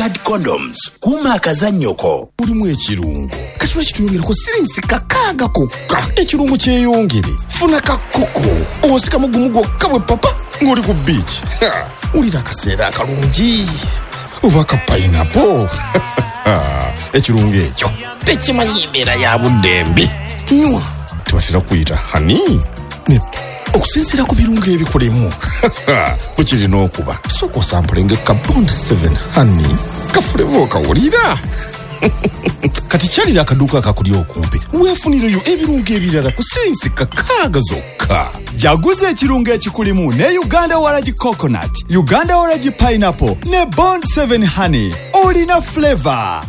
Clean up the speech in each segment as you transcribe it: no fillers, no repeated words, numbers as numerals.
Glad Condoms, kuuma akazannyo ko. Mulimu ekirungo kati lwaki tuyongerako sirinsi 6 kokka? Ekirungo kyeyongere. Funa kakoko osikamu gumu gwokka bwe papa ng'oli ku beach. Wulira akaseera akalungi oba ka pineapple. Ekirungo ekyo tekimanyi embeera ya budde mbi. Nywa, tebatera kuyita hani okusinziira ku birungo ebikolemu bwe kirina okuba. Sooka osampulenga ka Bond 7 honey kafuleva okawulira. Kati kyalira akaduuka akakuli okumpi weefunireyo ebirungo ebirala ku sirinsi 6 zokka. Jaguza ekirungo ekikulimu ne Uganda Waragi Coconut, Uganda Waragi Pineapple ne Bond 7 Honey. Olina flavor.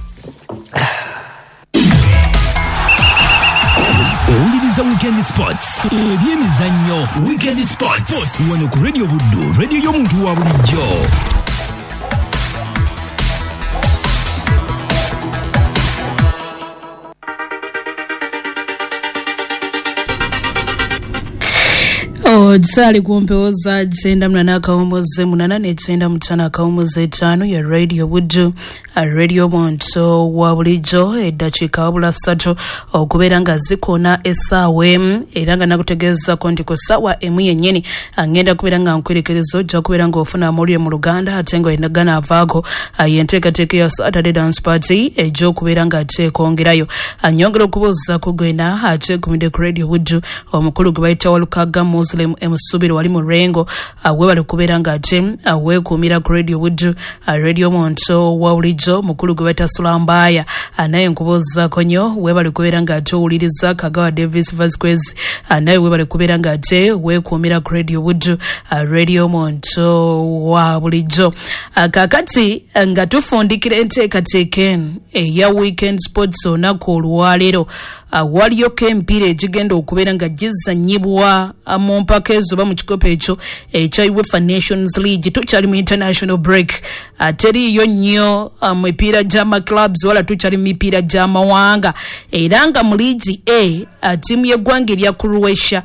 Owuliriza Weekend Sports, ebyemizannyo Weekend Sports wano ku Radio Buddu, radio y'omuntu wa bulijjo. Okyali ku mpewo za 98.8 ne 95.5 ya Radio Buddu, Radio Muntu wa bulijjo. Eddakiika wabula 3 okubeera nga zikona essaawa 1, era nga nakutegeezako nti ku ssaawa 1 yennyini ngenda kubeera nga nkwerekereza, ojja kubeera ng'ofuna amawulire mu Luganda ate nga ganavaako yenteekateeka ya Saturday Dance Party ejja okubeera nga ateekongerayo. Nyongera okubuuza ku gwena ateekumidde ku Radio Buddu, omukulu gwe bayita Walukaga Muslim emusubiro wali mu Rengo, webale kubeera nga ate weekuumira ku Radio Buddu, Radio Muntu wa bulijjo. Mukulu gwe bayita Sulambaya, naye nkubuuzaako nnyo, webale kubeera nga ate owuliriza Kagawa Davis Vasquez, naye webale kubeera nga ate weekuumira ku Radio Buddu, Radio Muntu wa bulijjo. Kaakati nga tufundikira enteekateeka eno eya Weekend Sports olunaku olwaleero, waliyoko emipiira egigenda okubeera nga gizannyibwa mu mpaka ezo oba mu kikopo ekyo ekya UEFA Nations League. Tukyali mu international break, teriiyo nnyo mipiira gy'amaclubs wala tukyali mu mipiira gy'amawanga. Era nga mu liigi A, ttiimu y'eggwanga erya Croatia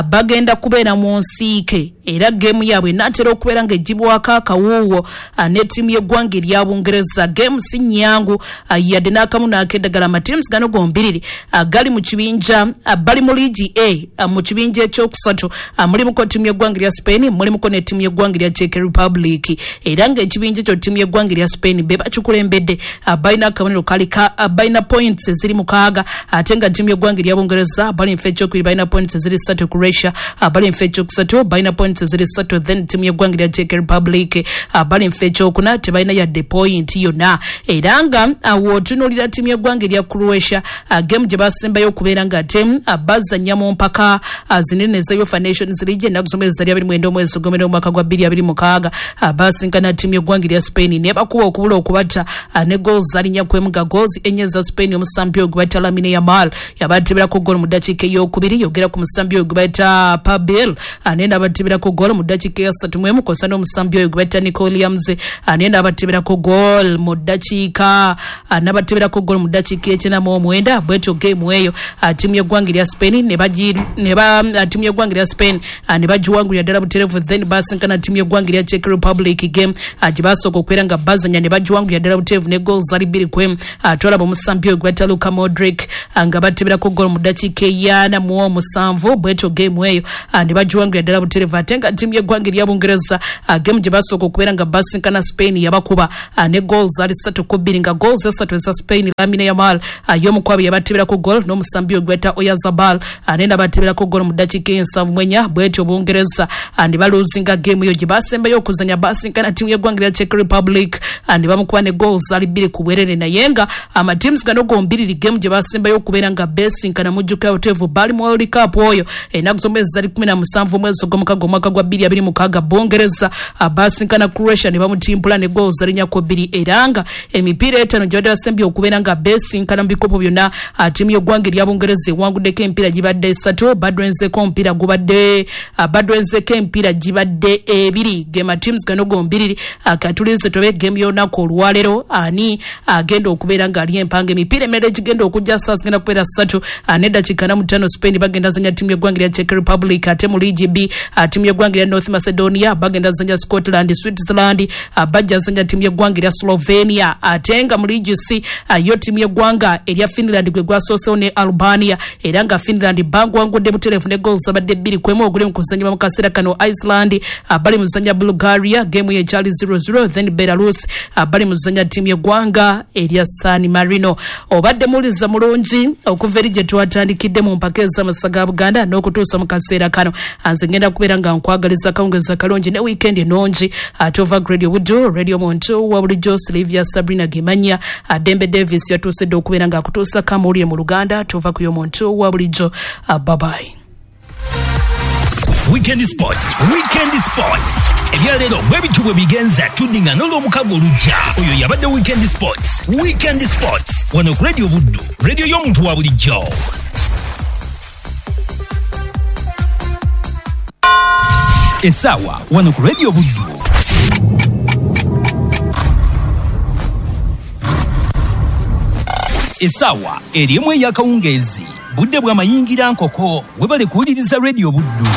bagenda kubeera mu nsiike, era geemu yaabwe enaatera okubeera ng'egibwako akawuuwo ne ttiimu y'eggwanga erya Bungereza. Geemu si nnyangu yadde n'akamu n'akeddagala. Amatiimu gano gombiriri gali mu kibinja, bali mu liigi A mu kibinja ekyokusatu. Mulimuko ttiimu y'eggwanga erya Spain, mulimuko ne ttiimu y'eggwanga erya Czech Republic. Era ng'ekibinja ekyo ttiimu y'eggwanga erya Spain be bakikulembedde, balina akabonero kali balina points eziri 6, ate nga ttiimu y'eggwanga erya Bungereza bali nfa ekyokubiri balina points eziri 3, Croatia bali nfa ekyokusatu balina points eziri 3, then ttiimu y'eggwanga erya Czech Republic bali nfa ekyokuna tebalina yadde point yonna. Era nga w'otunuulira ttiimu y'eggwanga erya Croatia, game gye basembayo okubeera nga ate bazannya mu mpaka zinene eza UEFA Nations League ennaku z'omwezi zali 29 omwezi ogw'omwenda omwaka gwa 2026, basinkana ttiimu y'eggwanga erya Spain ne bakuba okubula okubatta ne goals zali 4-1, nga goals 4 za Spain. Omusambi oyo gwe bayita Lamine Yamal yabateberako goal mu ddakiika ey'okubiri, yogera ku musambi oyo gwe bayita Pabil naye n'abateberako goal mu ddakiika eya 31, kw'ossa n'omusambi oyo gwe bayita Nico Williams naye n'abateberako goal mu ddakiika n'abateberako goal mu ddakiika 99. Bwetyo game eyo ttiimu y'eggwanga erya Spain ne ttiimu y'eggwanga erya Spain ne bagiwangulira ddala butereevu. Then basinkana ttiimu y'eggwanga erya Czech Republic, game gye basooka okubeera nga bazanya ne bagiwangulira ddala butereevu ne goals zali 2-1. Twalaba omusambi oyo gwe bayita Luka Modric nga bateberako goal mu ddakiika 47. Bwetyo game eyo ne bagiwangulira ddala butereevu. Ate nga ttiimu y'eggwanga erya Bungereza game gye basooka okubeera nga basinkana Spain yabakuba ne goals zali 3-2, nga goals 3 eza Spain Lamine Yamal y'omukwabo yabateberako goal n'omusambi oyo gwe bayita Oyarzabal naye n'abateberako goal mu ddakiika 74. Bwetyo Bungereza ne baluzinga game eyo gye basembayo okuzanya, basinkana ttiimu y'eggwanga erya Czech Republic ne bamukuba ne goals zali 2-2. Naye nga amatiimu gano gombiriri game gye basembayo okubeera nga besinkana mujjukira buteevu bali mu World Cup oyo ennaku z'omwezi zali 17 omwezi ogw'omukaaga omwaka gwa 2026. Bungereza basinkana Croatia ne bamutimpula ne goals zali 4-2. Era nga emipiira 5 gye badde basembye okubeera nga besinkana mu bikopo byonna, ttiimu y'eggwanga erya Bungereza ewanguddeko emipiira gibadde 3, badwenzeko omupiira gubadde Badwenzeko emipiira gibadde ebiri, gema teams gano gombiriri. Katulinze tobe game y'olunaku olwaleero ani agenda okubeera ng'ali empanga. Emipiira emirala egigenda okujja saa zigenda kubeera 3 neddakiika 45, Spain bagenda zanya ttiimu y'eggwanga erya Czech Republic. Ate mu liigi B, ttiimu y'eggwanga erya North Macedonia bagenda zanya Scotland. Switzerland bajja zanya ttiimu y'eggwanga erya Slovenia. Ate nga mu liigi C, yo ttiimu y'eggwanga erya Finland gwe gwasoosewo ne Albania, era nga Finland bangwangudde butereevu ne goals zabadde 2-1 oguli mu kuzannyibwa mu kaseera kano. Iceland bali mu zanya Bulgaria, game ye ekyali 0-0. Then Belarus bali mu zanya ttiimu y'eggwanga erya San Marino. Obadde muwuliriza mulungi okuva eri gye twatandikidde mu mpaka ez'amasa ga Buganda n'okutuusa mu kaseera kano. Nze ngenda kubeera nga nkwagaliza akawungeezi akalungi ne weekend ennungi. Ate ova Radio Buddu, Radio Muntu wa bulijjo, Silvia Sabrina Gemanya. Dembe Davis yatuusedde okubeera ng'akutuusako amawulire mu Luganda. Tuva ku y'omuntu wa bulijjo. Bye-bye. Weekend Sports, Weekend Sports. Ebyaleero bwe bityo bwe bigenza, tuddingana olw'omukago olujja. Oyo yabadde Weekend Sports, Weekend Sports. Wano ku Radio Buddu, radio y'omuntu wa bulijjo. Essaawa wano ku Radio Buddu. Essaawa erimu ey'akawungeezi. Budde bw'amayingira nkoko, webale kuwuliriza Radio Buddu.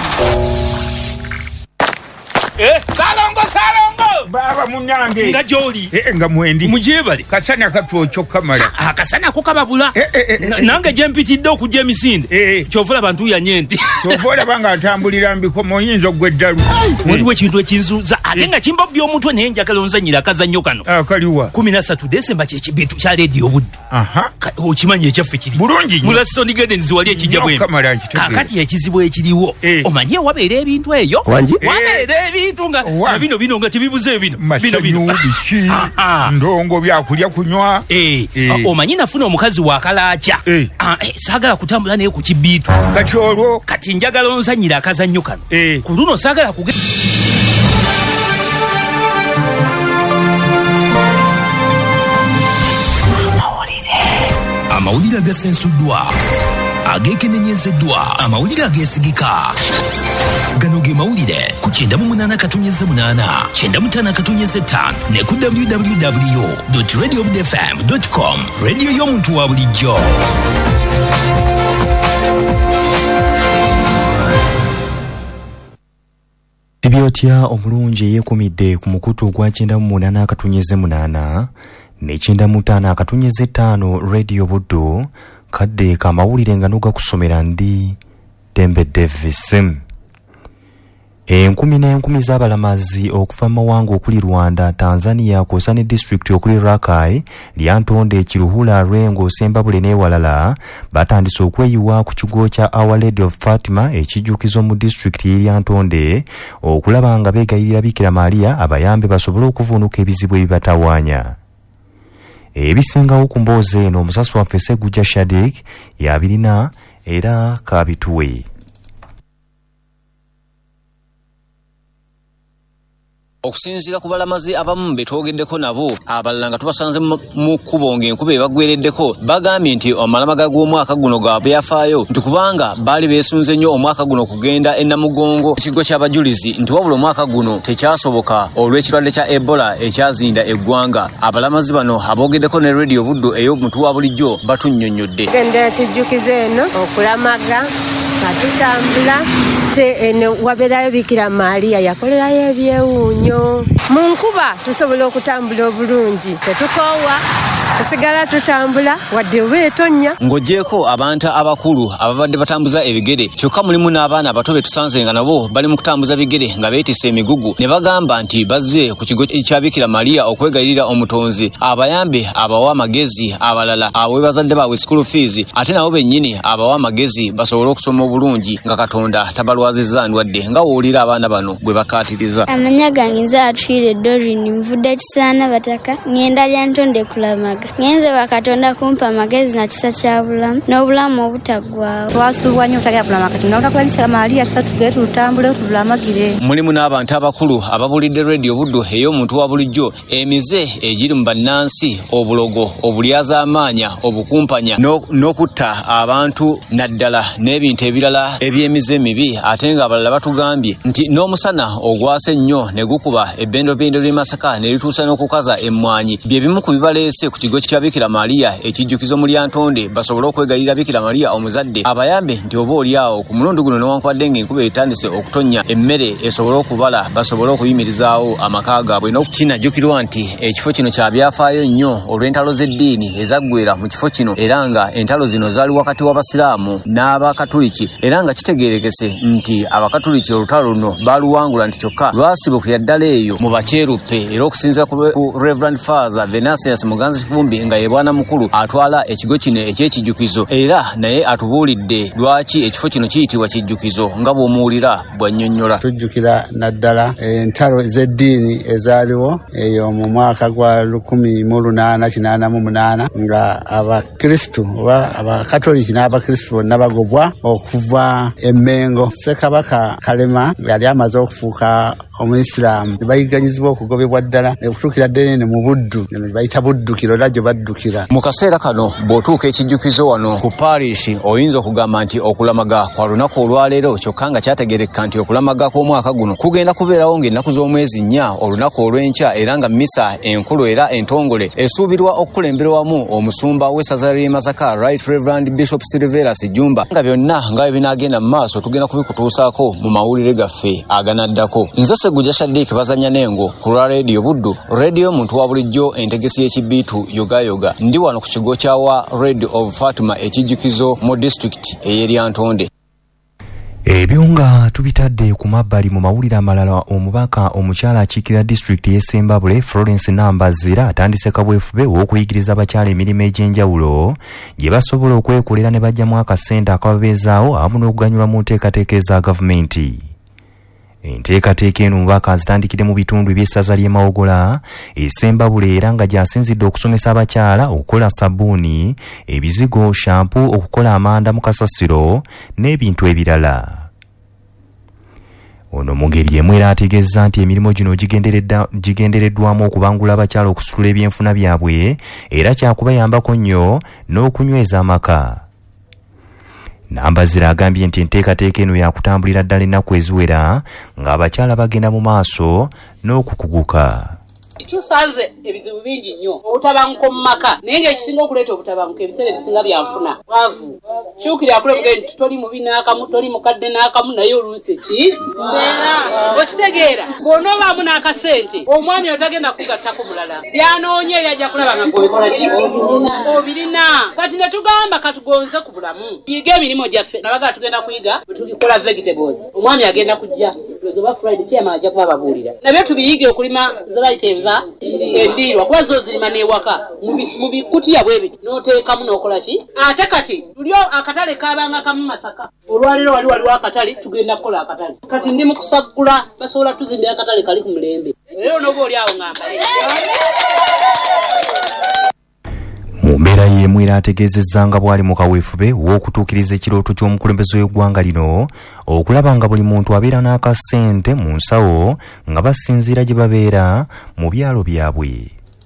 Salongo, Salongo! Baba munange. Nga gy'oli. Nga mwendi. Mugyebale. Kasana katwokyo kamala. Akasana ko kababula. Nange gye mpitidde okujja emisinde. Kyova olaba ntuuyanye nti. Kyova olaba nga ntambulira mbikomo oyinza oggwa eddalu. Waliwo ekintu ekinzuuza ate nga kimbobya omutwe, naye njagala onzannyire akazannyo kano. Akaliwa. 13 Desemba kye kibintu kya Radio Buddu. Okimanyi ekyaffe kiri. Bulungi nnyo. Mu Laston Gardens wali ekijja bwembi. Kamala nkitegeera. Kaakati ekizibu ekiriwo. Omanyi wabeera ebintu eyo. Wabeera ebintu nga bino bino nga tebibuze bino. Bino bino. Biki? Ndongo byakulya kunywa. Omanyi nafuna omukazi wa kalaaca. Saagala kutambula naye ku kibiitu. Kati olwo. Kati njagala onzannyire akazannyo kano. Ku luno saagala kuge. Amawulire agasensuddwa, ageekenenyezeddwa, amawulire ageesigika. Gano ge mawulire ku 98.8, 95.5 ne ku www.radiobudfm.com. Radio y'omuntu wa bulijjo. Sibyotya omulungi eyeekumidde ku mukutu ogwa 98.8 ne 95.5 Radio Buddu, kadde kamawulire nga nogakusomera ndi Dembe Davis. Enkumi n'enkumi z'abalamazi okuva mu mawanga okuli Rwanda, Tanzania kw'ossa ne disitulikiti okuli Rakai, Lyantonde, Kiruhura, Lwengo, Sembabule n'ewalala batandise okweyiwa ku kigo kya Our Lady of Fatima ekijjukizo mu disitulikiti y'e Lyantonde okulaba nga beegayirira Bikira Maria abayambe basobole okuvuunuka ebizibu ebibatawaanya. Ebisingawo ku mboozi eno omusasi waffe Segujja Shadik yabirina era kabituwe. Okusinziira ku balamazi abamu be twogeddeko nabo, abalala nga tubasanze mu kkubo ng'enkuba ebaggwereddeko, bagambye nti amalamaga g'omwaka guno ga byafaayo, nti kubanga baali beesunze nnyo omwaka guno okugenda e Namugongo ekigo ky'abajulizi, nti wabula omwaka guno tekyasoboka olw'ekirwadde kya Ebola ekyazinda eggwanga. Abalamazi bano aboogeddeko ne Radio Buddu ey'omuntu wa bulijjo batunnyonnyodde. Tugenda kijjukizo eno okulamaga nga tutambula eno wabeerayo Bikira Maria yakolerayo ebyewuunyo. Mu nkuba tusobola okutambula obulungi, tetukoowa, tusigala tutambula wadde oba etonnya. Ng'oggyeeko abantu abakulu ababadde batambuza ebigere, kyokka mulimu n'abaana abato be tusanze nga nabo bali mu kutambuza bigere nga beetisse emigugu, ne bagamba nti bazze ku kigo kya Bikira Maria okwegayirira omutonzi abayambe abawe amagezi, abalala abawe bazadde baabwe school fees, ate nabo bennyini abawe amagezi basobole okusoma obulungi nga Katonda tabalwazizza ndwadde, nga w'owulira abaana bano bwe bakaatiriza. Amannya gange nze Atwire Doreen, nvudde Kisaana Bataka, ŋŋenda Lyantonde kulamaga. Ngenze wa Katonda kumpa amagezi na kisa kya bulamu n'obulamu obutaggwaawo. Twasuubwa nnyo obutagenda kulamaga, kati nabula Bikira Maria tugende tutambule tulamagire. Mulimu n'abantu abakulu ababulidde Radio Buddu ey'omuntu wa bulijjo emize egiri mu bannansi, obulogo, obulyazaamaanya, obukumpanya n'okutta abantu naddala n'ebintu ebirala. ebirala eby'emize emibi. Ate ng'abalala batugambye nti n'omusana ogwase ennyo ne gukuba ebbendobendo ly'e Masaka ne lituusa n'okukaza emmwanyi bye bimu ku bibaleese ku kigo kya Bikira Maria ekijjukizo mu Lyantonde, basobole okwegayirira Bikira Maria omuzadde abayambe nti oba oli awo ku mulundi guno newankubadde ng'enkuba etandise okutonnya emmere esobole okubala basobole okuyimirizaawo amaka gaabwe. Kinajjukirwa nti ekifo kino kya byafaayo nnyo olw'entalo z'eddiini ezaggwera mu kifo kino, era nga entalo zino zaali wakati w'Abasiraamu n'Abakatuliki, era nga kitegeerekese nti Abakatuliki olutalo luno baaluwangula nti kyokka lwasibukira ddala eyo mu Bakyeruppe. Era okusinziira ku Reverend Father Venansius Muganzi Fumbi nga ye bwana mukulu atwala ekigo kino eky'ekijjukizo, era naye atubuulidde lwaki ekifo kino kiyitibwa kijjukizo nga bw'omuwulira bw'annyonnyola. Tujjukira naddala entalo z'eddiini ezaaliwo eyo mu mwaka gwa 1888 nga Abakristu oba Abakatoliki n'Abakristu bonna bagobwa okuva e Mmengo. Ssekabaka Kalema yali amaze okufuuka Omuisiraamu, ne bayigganyizibwa okugobebwa ddala okutuukira ddala eno mu Buddu, bayita Buddukiro era gye baddukira. Mu kaseera kano bw'otuuka ekijjukizo wano ku parish oyinza okugamba nti okulamaga kwa lunaku olwaleero, kyokka nga kyategeerekeka nti okulamaga kw'omwaka guno kugenda kubeerawo ng'ennaku z'omwezi 4 olunaku olw'enkya, era nga mmisa enkulu era entongole esuubirwa okukulemberwamu omusumba w'essaza ly'e Masaka Right Reverend Bishop Silverus Jjumba. Nga byonna nga bwe binaagenda mu maaso tugenda kubikutuusaako mu mawulire gaffe aganaddako. Nze Sseggujja Shaddick bazannya n'engo ku lwa Radio Buddu, radio muntu wa bulijjo entegesi y'ekibiitu yogayoga. Ndi wano ku kigo kya wa Radio of Fatima ekijjukizo mu disitulikiti ey'e Lyantonde. Ebyo nga tubitadde ku mabbali, mu mawulire amalala, omubaka omukyala akiikirira disitulikiti y'e Ssembabule Florence Nambazira atandise kabwefube w'okuyigiriza abakyala emirimu egy'enjawulo gye basobola okwekolera ne baggyamu akasente akababeezaawo awamu n'okuganyulwa mu nteekateeka eza gavumenti. Enteekateeka eno omubaka azitandikidde mu bitundu eby'essaza ly'e Mawogola e Ssembabule, era nga gy'asinzidde okusomesa abakyala okukola sabbuuni, ebizigo, shampu, okukola amanda mu kasasiro n'ebintu ebirala. Ono mu ngeri emu era ategeezza nti emirimu gino gigendereddwamu okubangula abakyala okusitula ebyenfuna byabwe, era kyakubayambako nnyo n'okunyweza amaka. Nambazira agambye nti enteekateeka eno yakutambulira ddala ennaku eziwera ng'abakyala bagenda mu maaso n'okukuguka. Tusanze ebizibu bingi nnyo, obutabanguko mu maka, naye ng'ekisinga okuleeta obutabanguko ebiseera ebisinga byanfuna bwavu. Kyukira akulebugee nti toli mubi n'akamu, toli mukadde n'akamu, naye oluusi ki okitegeera bw'onoobaamu n'akasente omwami otagenda kugattako mulala, byanoonya eri ajja kulaba nga gw'obikola ki obirina. Kati ne tugamba katugonze ku bulamu, tuyige emirimu gyaffe. Nabaga tugenda kuyiga bwe tugikola vegetables, omwami agenda kujja oba Friday chairman ajja kuba ababuulira nabyo tubiyige okulima ze bayita enva endiirwa, kuba zo zirima n'ewaka mu bikutiya bwe biti n'oteekamu n'okola ki. Ate kati luli akatale kaabanga kamu Masaka, olwaleero waliwo akatale, tugenda kukola akatale. Kati ndi mu kusaggula basobola tuzimbira akatale kali ku mulembe, era onooba oli awo ngambale. Mu mbeera y'emu era ategeezezza nga bw'ali mu kaweefube w'okutuukiriza ekirooto ky'omukulembeze w'eggwanga lino okulaba nga buli muntu abeera n'akasente mu nsawo nga basinziira gye babeera mu byalo byabwe.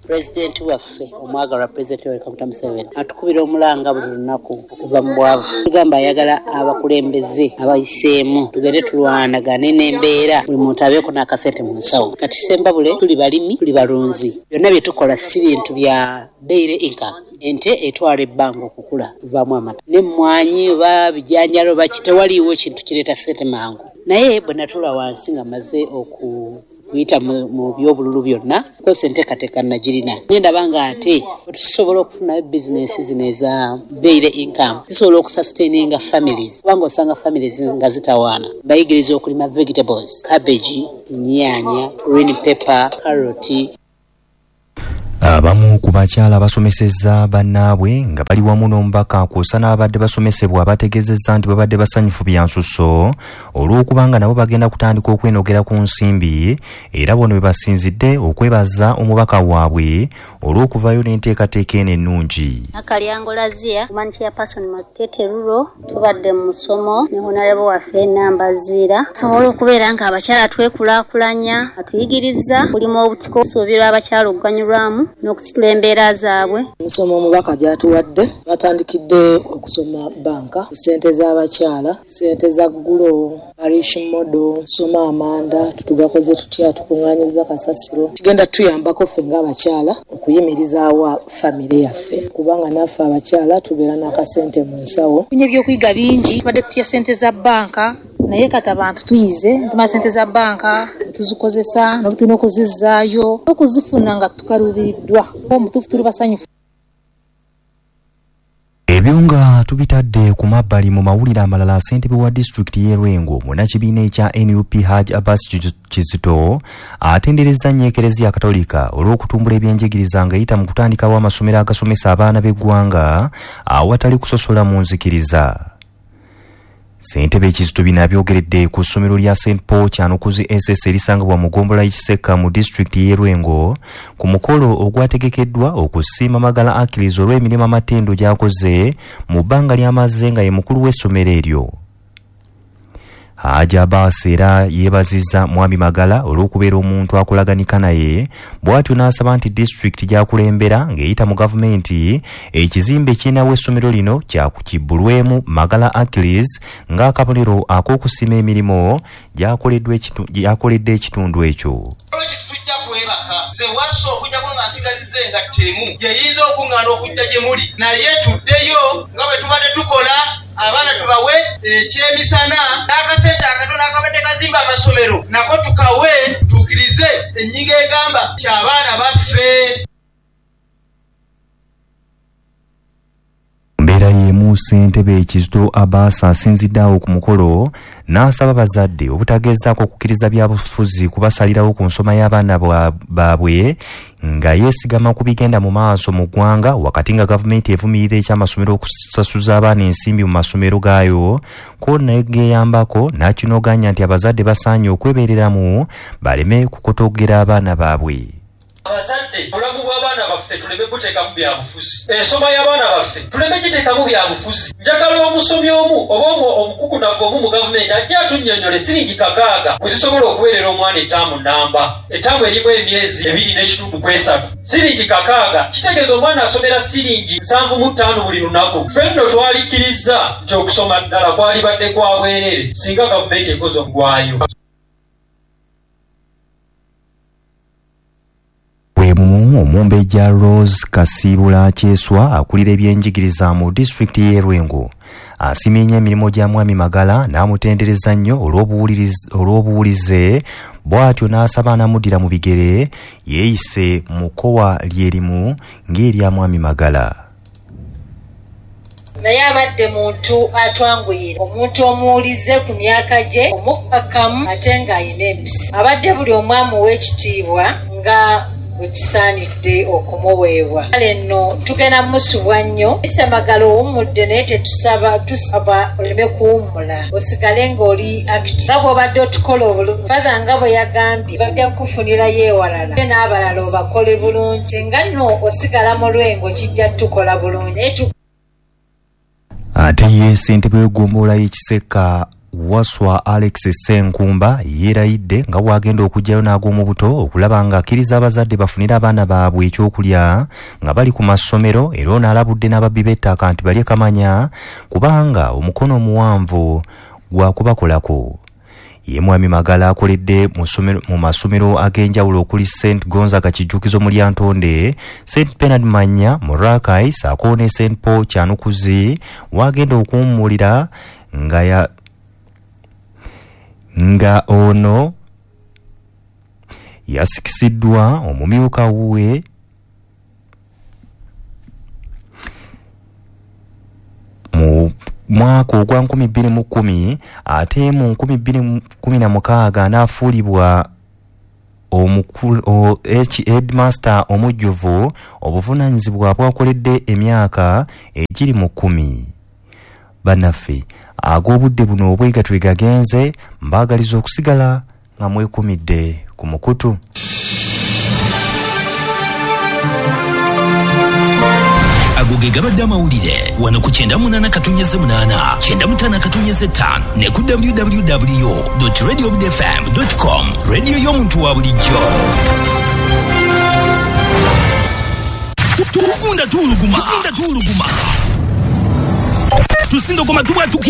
Pulezidenti waffe omwagalwa Pulezidenti Yoweri Kaguta Museveni atukubira omulanga buli lunaku okuva mu bwavu. Tugamba ayagala abakulembeze abayiseemu tugende tulwanagane n'embeera, buli muntu abeeko n'akasente mu nsawo. Kati Ssembabule tuli balimi, tuli balunzi, byonna bye tukola si bintu bya daily income. Ente etwala ebbanga okukula, tuvaamu amata n'emmwanyi oba bijanjalo oba ki, tewaliiwo kintu kireeta ssente mangu. Naye bwe natuula wansi nga maze okuyita mu byobululu byonna, kosa enteekateeka nagirina. Ndaba ng'ate tusobola okufunayo bizinensi zino eza daily income, zisobola okusustaininga families, kubanga osanga families nga zitawaana. Bayigiriza okulima vegetables, cabbage, nnyaanya, green pepper, carrot. Abamu ku bakyala basomesezza bannaabwe nga bali wamu n'omubaka kw'ossa n'ababadde basomesebwa bategeezezza nti babadde basanyufu bya nsusso olw'okubanga nabo bagenda kutandika okwenogera ku nsimbi, era bono bwe basinzidde okwebaza omubaka waabwe olw'okuvaayo n'enteekateeka eno ennungi. Nakalyango Lazia, woman chairperson Matete Rural, tubadde mu musomo ne honorable waffe Nambazira. Tusobola okubeera nga abakyala twekulaakulanya, atuyigiriza kulima obutiko, tusuubira abakyala okuganyulwamu. n'okusitula embeera zaabwe. Emisomo omubaka gy'atuwadde, batandikidde okusoma bbanka, ssente z'abakyala, ssente za gulo, parish model, soma amanda, tugakoze tutya, tukuŋŋaanyiza kasasiro. Kigenda tuyambako ffe ng'abakyala okuyimirizaawo famire yaffe, kubanga naffe abakyala tubeera n'akasente mu nsawo. Tufunye ebyokuyiga bingi, tubadde tutya ssente za bbanka, naye kati abantu tuyize, tumala ssente za bbanka tuzikozesa, n'obutulina okuzizzaayo, okuzifuna nga tukaluubiriddwa. Omutuufu tuli basanyufu. Ebyo nga tubitadde ku mabbali, mu mawulire amalala, ssentebe wa disitulikiti y'e Lwengo munnakibiina ekya NUP Hajj Abbas Kizito atenderezza nnyo Ekereziya Katolika olw'okutumbula ebyenjigiriza ng'eyita mu kutandikawo amasomero agasomesa abaana b'eggwanga awatali kusosola mu nzikiriza. Ssentebe Kizito bino abyogeredde ku ssomero lya St Paul Kyanukuzi SS erisangibwa mu ggombolola y'e Kisekka mu disitulikiti y'e Lwengo ku mukolo ogwategekeddwa okusiima Magala Achilles olw'emirimu amatendo gy'akoze mu bbanga ly'amaze nga ye mukulu w'essomero eryo. Hajj Abbas era yeebazizza Mwami Magala olw'okubeera omuntu akolaganika naye, bw'atyo n'asaba nti disitulikiti gy'akulembera ng'eyita mu gavumenti ekizimbe kirinawo essomero lino kyakukibbulwemu Magala Achilles ng'akabonero ak'okusiima emirimu gy'akoledde ekitundu ekyo. Tujja kwebaka nze wassa okujjako nga nsigazizza engatto emu yeyinza okuŋŋaana okujja gye muli, naye tuddeyo nga bwe tubadde tukola, abaana tubawe ekyemisana n'akasente akatono akabadde kazimba amasomero nako tukawe, tutuukirize ennyingo egamba nti abaana baffe. Mbeera y'emu, ssentebe Kizito Abbas asinzidde awo ku mukolo n'asaba bazadde obutagezaako okukkiriza byabufuzi kubasalirawo ku nsoma y'abaana baabwe nga yeesigama ku bigenda mu maaso mu ggwanga, wakati nga gavumenti evumirira ekyamasomero okusasuza abaana ensimbi mu masomero gaayo ko negeyambako, n'akinoganya nti abazadde basaanye okwebeereramu baleme kukotogera abaana baabwe. Abazadde, obulamu bw'abaana baffe tuleme buteekamu byabufuzi, ensoma y'abaana baffe tuleme giteekamu byabufuzi. Njagala omusomi omu oba omukukunavu omu mu gavumenti ajje atunnyonnyole siringi 6 bwe zisobola okuweerera omwana ettaamu nnamba. Ettaamu erimu emyezi 2.5 ku 3. Siringi 6 kitegeeza omwana asomera siringi 75 buli lunaku. Ffe nno twalikkirizza nti okusoma ddala kwalibadde kwa bwereere singa gavumenti ekoze omugwayo. Bwemumu omumbejja Rose Kasiibula Kyeswa akulira ebyenjigiriza mu disitulikiti y'e Lwengo asiimye nnyo emirimu gya Mwami Magala n'amutendereza nnyo olw'obuwulize, bw'atyo n'asaba anamuddira mu bigere yeeyise mu kkowa lyerimu ng'erya Mwami Magala. Naye abadde muntu atwanguyira, omuntu omuwulize ku myaka gye, omukkakkamu ate ng'alina empisa. Abadde buli omu amuwa ekitiibwa nga bwe kisaanidde okumuweebwa. Kale nno tugenda musubwa nnyo. Mr. Magala owummudde, naye tetusaba, tusaba oleme kuwummula, osigale ng'oli active nga bw'obadde otukola obulungi. Father nga bwe yagambye, bajja kukufunirayo ewalala ate n'abalala obakole bulungi. Singa nno osigala mu Lwengo kijja tukola bulungi. Naye Ate ye ssentebe w'eggombolola y'e Kisekka Waswa Alex Ssenkumba yeerayidde nga bw'agenda okuggyayo n'ag'omu buto okulaba ng'akkiriza abazadde bafunire abaana baabwe ekyokulya nga bali ku masomero, era ono alabudde n'ababbi b'ettaka nti balye kamanya kubanga omukono omuwanvu gwakubakolako. Ye Mwami Magala akoledde mu masomero ag'enjawulo okuli St Gonzaga Kijjukizo mu Lyantonde, St Bernard Manya mu Rakai ssaako ne St Paul Kyanukuzi w'agenda okuwummulira nga ono yasikisiddwa omumyuka we mu mwaka ogwa 2010, ate mu 2016 n'afuulibwa headmaster omujjuvu, obuvunaanyizibwa bwakoledde emyaka egiri mu 10. Bannaffe, ag'obudde buno obwegatwe gagenze, mbaagaliza okusigala nga mwekumidde ku mukutu. Ago ge gabadde amawulire wano ku 98.8, 95.5 ne ku www.radiobudfm.com, radio y'omuntu wa bulijjo. Tugunda tuwuluguma, tugunda tuwuluguma, tusindogoma tubwatukira.